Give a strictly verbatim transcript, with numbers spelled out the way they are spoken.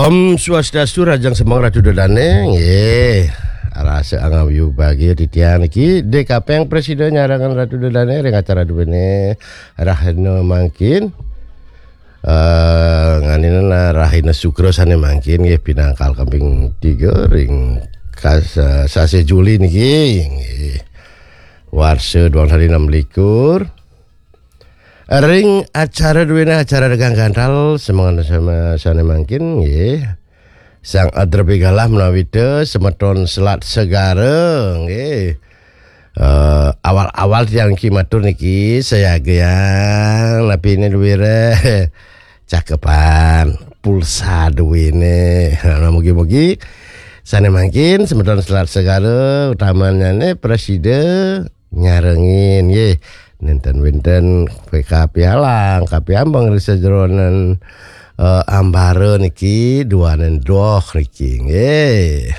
Om Swastiastu, rahajeng semeng Ratu Dedane, nggih. Rasa angayu bagia titiang niki, D K P presida nyarengan Ratu Dedane ring acara duene rahina mangkin. Eh, nganina rahina Sukra sane mangkin nggih, pinangkal kaping tiga ring kas-, eh, sasih Juli niki, nggih. Warsa dua belas enam likur. Ring acara duene acara regang gantal semengan sama sane mangkin nggih. Sang Adrepi Galah menawita semeton Selat Segara nggih. Eh, awal-awal tiang ki matur niki sayagayang napi ini duwire cakepan pulsa duwine. Nah, mugi-mugi sane mangkin semeton Selat Segara utamanyane presida nyarengin nggih. Nenten wenten P K pialang, kapiambeng ri sajeroning eh, ambara niki duaning doh niki nggih.